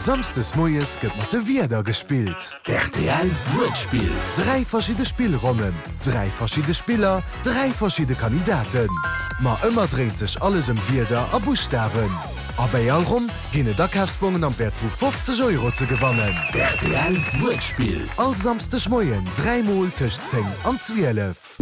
Samsdes moies gëtt mat de Wierder gespillt. D'RTL Wuertspill. 3 verschidde Spillronnen, 3 verschidde Spiller, 3 verschidde Kandidaten. Ma ëmmer dréint sech alles ëm Wierder a Buschtawen. A bäi all Ronn ginn et Akafsbongen am Wäert vu 50 Euro ze gewannen. D'RTL Wuertspill. All Samsdeg Moien 3 mol tëscht 10 an 12.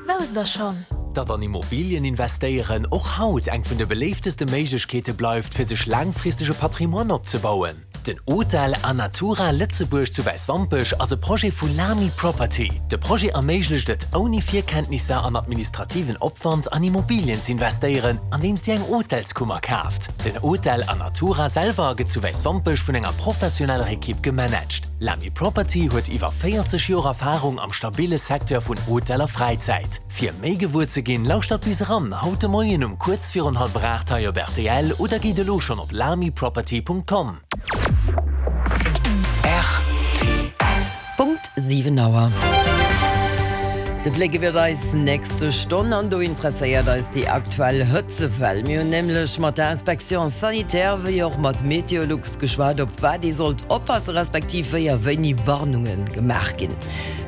Wousst der schonn? Datt an Immobilien investéieren och haut eng vun de beléifteste Méiglechkeete bleift, fir sech laangfristeg e Patrimoine opzebauen? Den Hotel Anatura Lëtzebuerg zu Wäiswampech ass e Projet vu Lamy Property. De Projet erméiglecht et, ouni Virkenntnisser an administrativen Opwand an Immobilien z'investéieren, andeems Dir eng Hotelskummer kaaft. Den Hotel Anatura selwer gëtt zu Wäiswampech vun enger professioneller Ekipp gemanagt. Lamy Property huet iwwer 40 Joer Erfarung am stabille Secteur vun Hotel a Fräizäit. Fir méi gewuer ze ginn, lauschtert bis eran haut de Moien um kuerz virun hallwer 8 hei op rtl oder gitt elo schonn op lamyproperty.com. Punkt 7 Auer. De Bléck iwwer eis nächste Stonn an do interesséiert eis déi aktuell Hëtzewell. Mir hunn nämlech mat der Inspection sanitaire wéi och mat Meteolux geschwat, op wat ee sollt oppasse respektiv wéi a wéini Warnunge gemaach ginn.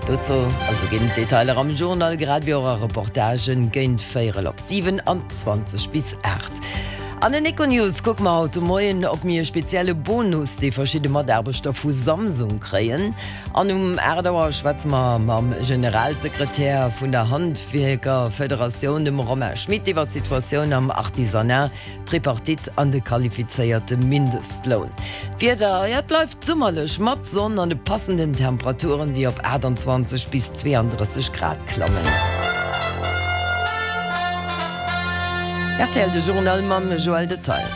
Dozou also ginn d'Detailer am Journal grad wéi och a Reportagen géint véierel op 7 an 20 bis 8. An den Econews kucke mer haut de Moien op méi e spezielle Bonus, dee verschidde Mataarbechter vu Samsung kréien. An um 8 Auer schwätze mer mam Generalsekretär vun der Handwierkerfederatioun, dem Romain Schmit, iwwer d'Situatioun am Artisanat, d'Tripartite an de qualifizéierte Mindestloun. D'Wieder, jo et bleift summerlech mat Sonn an de passenden Temperaturen, déi op 28 bis 32 Grad klammen. Rtl, de Journal mam Joël Detaille.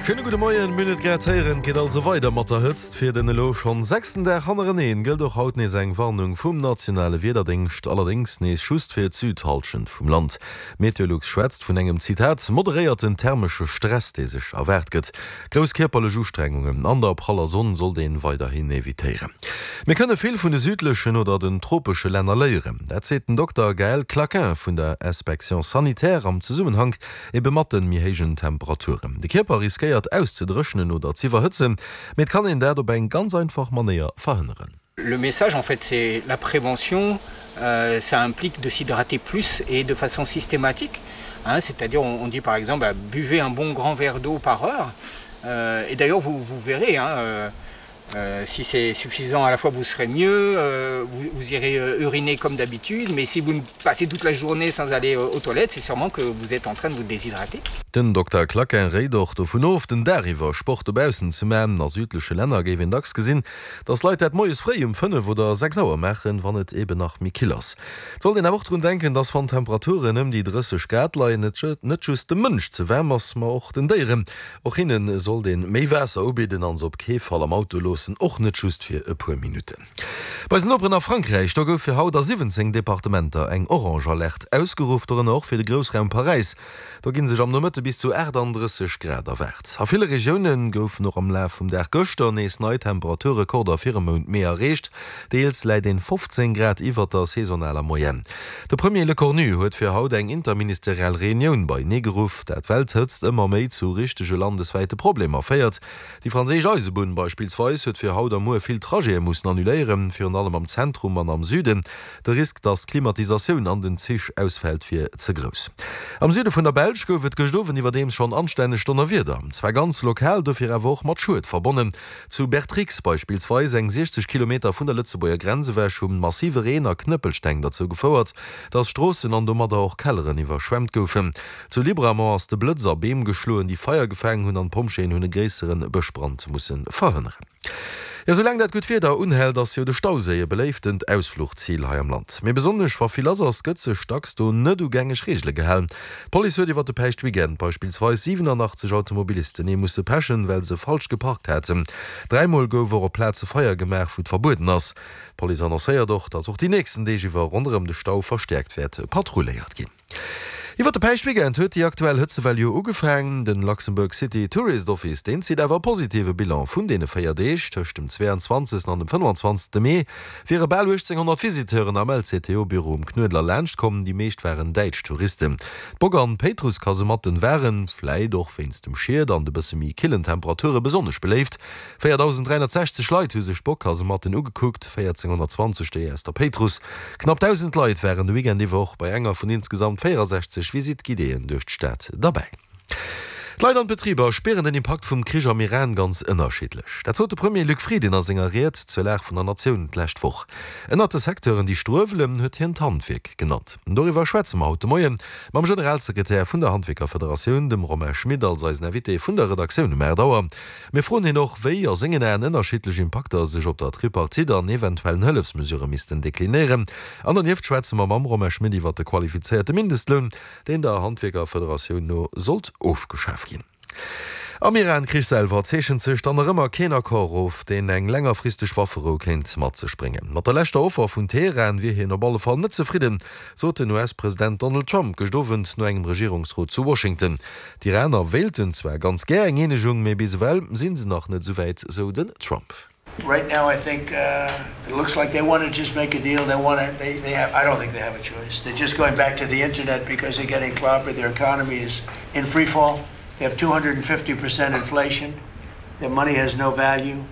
Schéine gudde Moien. Mir hunn et grad héieren, et geet also weider mat der Hëtzt. Fir den elo schonn sechsten Dag hannereneen gëllt och haut nees eng Warnung vum nationale Wiederdéngscht, allerdéngs nees just fir d'Südhallschent vum Land. Meteolux schwätzt vun engem, Zitat, moderéierten thermesche Stress, dee sech erwaart gëtt. Grouss kierperlech Ustrengungen an der praller Sonn sollt een weiderhin evitéieren. Mir kënne vill vun de südlechen oder den tropesche Länner léieren. Dat seet den Dokter Gaël Claquin vun der Inspection sanitaire am Zesummenhank ebe mat de méi héijen Temperaturen. De Kierper riskéiert auszedréchnen oder z'iwwerhëtzen, mee et kann een dat op eng ganz einfach Manéier verhënneren. Le message en fait c'est la prévention, euh, ça implique de s'hydrater plus et de façon systématique. Hein, c'est-à-dire on, on dit par exemple bah, buvez un bon grand verre d'eau par heure euh, et d'ailleurs vous, vous verrez hein, euh, euh, si c'est suffisant à la fois vous serez mieux euh, vous, vous irez euh, uriner comme d'habitude mais si vous ne passez toute la journée sans aller euh, aux toilettes c'est sûrement que vous êtes en train de vous déshydrater. Den Dokter Claquin réit och dovun of, den Dag iwwer Sport dobaussen ze man. A südleche Länner géif een dacks gesinn, dass Leit dat moies fréi um 5 oder 6 Auer maachen, wann et eben nach méi kill ass. Et sollt een awer och drun denken, dass wann d'Temperaturen ëm déi 30 Grad leien, et net just dem Mënsch ze waarm ass, ma och den Déieren. Och hinne sollt een méi Waasser ubidden an se op kee Fall am Auto loossen, och net just fir e puer Minutten. Bei eisen Noperen a Frankräich, do gouf fir haut a 17 Departementer eng orange Alerte ausgeruff, dorënner och fir de Groussraum Paräis. Do ginn sech am Nomëtte bis zu 38 Grad erwaart. A ville Regioune goufen och am Laf vum Dag gëschter nees nei Temperaturrekorder fir e Mount Mee erreecht. Deels läit een 15 Grad iwwert der saisonaler Moyenne. De Premier Lecornu huet fir haut eng interministeriell Reunioun beienee geruff. Dat well d'Hëtzt ëmmer méi zu richtege landeswäite Problemer féiert. Déi franséisch Eisebunn beispillsweis huet fir haut a muer vill Trajete mussen annuléieren, virun allem am Zentrum an am Süden. De Risk, datt d'Klimatisatioun an den Zich ausfält, wier ze grouss. Am Süde vun der Belsch gouf et gëscht Owend iwwerdeems schonn anstänneg Donnerwieder. Zwar ganz lokal, dofir awer och mat Schued verbonnen. Zu Bertrix beispillsweis, eng 60 Kilometer vun der Lëtzebuerger Grenz ewech, hu massive Reen a Knëppelsteng derzou gefouert, datt Stroossen an domadder och Kelleren iwwerschwemmt goufen. Zu Libramont ass de Blëtz a Beem geschloen, déi Feier gefaangen hunn an d'Pompjeeën hunn e gréissere Bëschbrand musse verhënneren. Jo, soulaang dat gutt Wieder unhält, ass jo de Stauséi e beléiftent Ausfluchzil hei am Land. Mee besonnesch wa vill lass ass, gëtt sech dacks do net u gängeg Reegele gehalen. D'Police huet iwwer de Päischtweekend beispillsweis 87 Automobilisten ee musse pechen, well se falsch geparkt haten. Dräimol gouf och op Plaze Feier gemaach, wou et verbueden ass. D'Police annoncéiert och, datt och déi nächsten Deeg iwwer ronderëm de Stau verstäerkt wäert patrulléiert ginn. Iwwer de Päischtweekend huet déi aktuell Hëtzewell jo ugefaang. Den Luxembourg City Tourist Office, deen zitt awer e positive Bilan vun deene 4 Deeg. Tëscht dem 22 an dem 25 Mee wiere bal 1.800 Visiteuren am LCTO-Büro um Knuedler laanscht komm. Déi meescht waren däitsch Touristen. D'Bock an d'Péitruss-Kasematten waren, vläit och wéinst dem Schied an de bësse méi killen Temperature besonnesch beléift. 4.360 Leit hu sech d'Bock-Kasematten ugekuckt, 1.420 déi aus der Péitruss. Knapp 1.000 Leit waren de Weekend iwwer och bei enger vun insgesamt 64 Visite guidéeën duerch d'Stad derbäi. D'Leit an d'Betriber spieren den Impakt vum Krich am Iran ganz ënnerschiddlech. Dat sot de Premier Luc Frieden a senger Ried zur Lag vun der Natioun d'lescht Woch. Ënnert de Secteuren, déi struewelen, huet hien d'Handwierk genannt. Doriwwer schwätze mer haut de Moie mam Generalsekretär vun der Handwierkerfederatioun, dem Romain Schmit, als eisen Invité vun der Redaktioun um 8 Auer. Mir froen hien och, wéi a sengen Aen ënnerschiddlech Impakter sech op der Tripartite an eventuellen Hëllefsmesurë missten deklinéieren. An donieft schwätze mer mam Romain Schmit iwwer de qualifizéierte Mindestloun, deen der Handwierkerfederatioun no sollt ofgeschaf ginn. Am Iran-Krich selwer zeechent sech dann nach ëmmer keen Accord of, deen eng längerfristeg Wafferou kéint mat sech bréngen. Mat der leschter Offer vun Teheran wier hien op alle Fall net zefridden, sot den US-President Donald Trump gëscht Owend no engem Regierungsrot zu Washington. D'Iraner wéilten zwar ganz gär eng Eenegung, mee bis ewell si se nach net esouwäit, sou den Trump. Right now I think it looks like they want to just make a deal, they want to, they, they have, I don't think they have a choice. They're just going back to the internet because they're getting clobbered, their economy is in free fall, they have 250 percent inflation, their money has no value.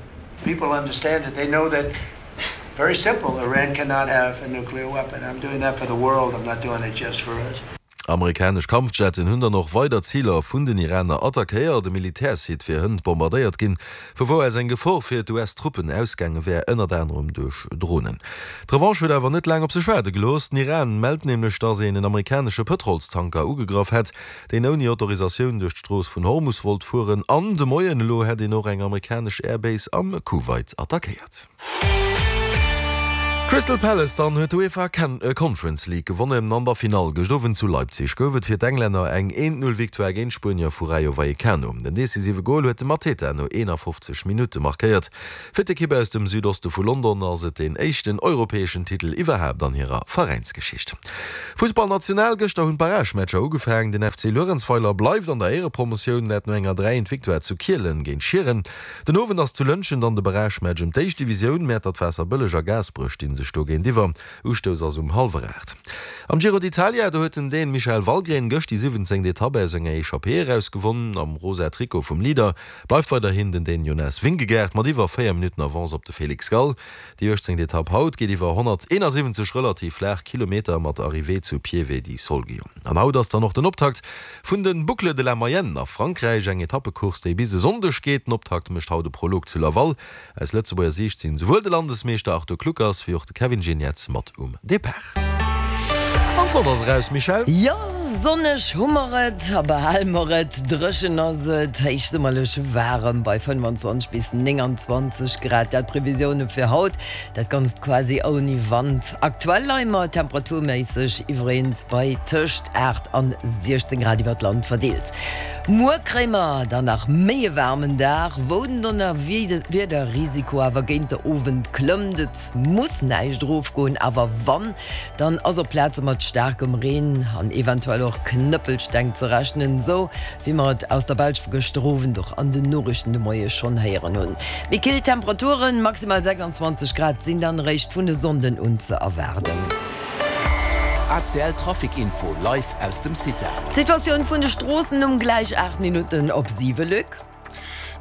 People understand it, they know that, very simple, Iran cannot have a nuclear weapon. I'm doing that for the world, I'm not doing it just for us. Amerikanesch Kampfjetten hunn dann och weider Ziler vun den Iraner attackéiert. E Militärsite wier hënt bombardéiert ginn, vu wou aus eng Gefor fir d'US-Truppen ausgaange wär, ënnert anerem duerch Dronen. D'Revanche huet awer net laang op sech waarde gelooss. Den Iran mellt nämlech, datt een en amerikanesche Pëtrolstanker ugegraff hätt, deen ouni Autorisatioun duerch d'Strooss vun Hormus wollt fueren. An de Moien elo hätt een och eng amerikanesch Airbase am Kuwait attackéiert. Crystal Palace dann huet d'UEFA Conference League gewonnen. An der Finall gëscht Owend zu Leipzig gouf et fir d'Englänner eng 1-0 Victoire géint d'Spuenier vu Rayo Vallecano. Den decisive Gol huet de Mateta no 51 Minutte markéiert. Fir d'Ekipp aus dem Südoste vu London ass et deen éischten europäeschen Titel iwwerhaapt an hirer Veräinsgeschicht. Fussball National, Gëschter hunn d'Barragematcher ugefaangen. Den FC Luerenzweiler bleift an der Éierepromotioun, dat no enger 3 1 Victoire zu Kielen géint Schieren. Den Owend ass zu Lëntgen dann de Barragematch ëm d'éischt Divisioun. Mäertert, Waasserbëlleg a Gaasperech stinn sech do géintiwwer. Ustouss ass um hallwer 8. Am Giro d'Italia, do huet den Dän Michael Valgren gëscht déi 17. Etapp aus enger Echappée eraus gewonn. Am rosa Trikot vum Leader bleift weiderhin den Dän Jonas Vingegaard mat iwwer 4 Minutten Avance op de Felix Gall. Déi 18. Etapp haut geet iwwer 171 relativ flaach Kilometer mat Arrivée zu Pieve di Solgio. An haut ass dann och den Optakt vun de Boucles de la Mayenne a Frankräich, eng Etappecourse, déi bis e Sonndeg geet. Den Optakt mécht haut e Prolog zu Laval. Aus Lëtzebuerger Siicht sinn souwuel de Landesmeeschter Arthur Kluckers wéi och de Kevin Geniets mat um Depart. An d'Sonn ass eraus, Michèle. Jo, sonneg hu mer et a behale mer et. Dréchen ass et, héichsummerlech waarem bei 25 bis 29 Grad. Dat d'Previsioune fir haut, dat Ganzt quasi ouni Wand. Aktuell leie mer temperaturméisseg iwwereens bei tëscht 8 an 16 Grad iwwer d'Land verdeelt. Muer kréie mer dann nach méi e waarmen Dag, wou den Donnerwiederrisiko awer géint de Owend klëmmt. Et muss näischt erofgoen, awer wann, Dann ass op Plaze mat staarkem Reen an eventuell och Knëppelsteng ze rechnen, sou wéi mer et aus der Belsch vu gëschter Owend och an den Noriichten de Moie schonn héieren hunn. Méi kill Temperaturen, maximal 26 Grad, sinn dann eréischt vun e Sonnden un ze erwaarden. ACL Trafic Info live aus dem CITA. D'Situatioun vun de Stroossen um gläich 8 Minutten op 7, Luc.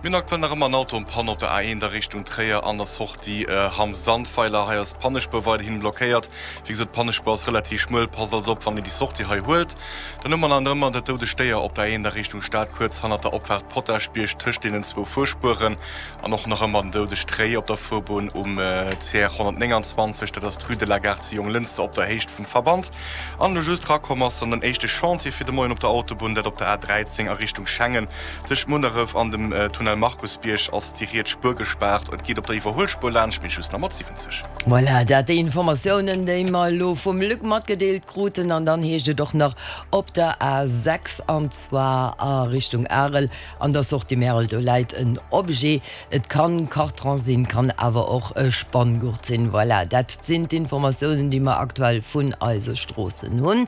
Mir hunn aktuell nach ëmmer en Auto en panne op der A1 a Richtung Tréier an der Sortie Hamm-Sandweiler. Hei ass d'Pannespuer weiderhin blockéiert. Wéi gesot, d'Pannespuer ass relativ schmuel, passt also op wann Dir déi Sortie hei huelt. Dann hu mer nach ëmmer dat doudegt Déier op der A1 a Richtung Stad, kuerz hannert der Opfaart Potaschbierg tëscht deenen zwou Fuerspueren. An och nach ëmmer den doudegt Réi op der Fuerbunn um CR 129, dat ass d'Rue de la Gare zu Jonglënster op der Héicht vum Verband. An elo just rakomm ass dann den éischte Chantier fir de Moien op der Autobunn, dat op der A13 a Richtung Schengen. Tëscht Munneref an dem Tunnel. Tunnel Markusbierg ass déi riets Spuer gespaart. Et geet op der Iwwerhuelspuer laanscht, mee just nach mat 70. Voilà, dat déi Informatiounen, déi mer elo vum Luc matgedeelt kruten. An dann heescht et och nach op der A 6, an zwar a Richtung Arel, an der Sortie Märel, do läit en Objet. Et kann Cartron sinn, kann awer och e Spanngurt sinn. Voilà, dat sinn d'Informatiounen, déi mer aktuell vun eise Stroossen hunn.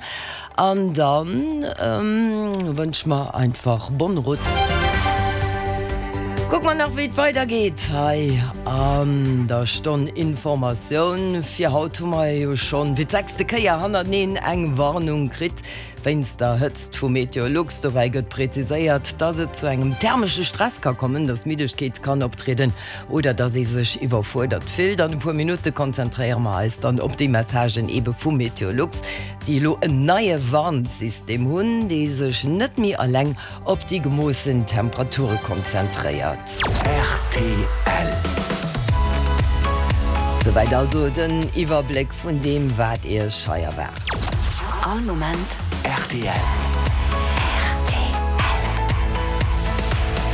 An dann wënsche mer einfach bonne route. Kucke mer nach, wéi et weidergeet hei an der Stonn Informatioun. Fir haut hu mer jo schonn fir d'sechste Kéier hannerteneen eng Warnung kritt wéinst der Hëtzt vu Meteolux. Dobäi gëtt preziséiert, dass et zu engem thermesche Stress ka kommen, dass Middegkeet kann optrieden oder dass ee sech iwwerfuerdert fillt. An e puer Minutte konzentréiere mer eis dann op déi Messagen eebe vu Meteolux. déi elo en neie Warnsystem hunn, dee sech net méi alleng op déi gemoossen Temperature konzentréiert. Rtl. Souwäit also den Iwwerbléck vun deem, wat Iech hei erwaart. All Moment rtl.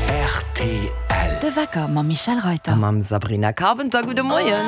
Rtl. De Wecker mam Michèle Reyter. A mam Sabrina Carpenter. Gudde Moien.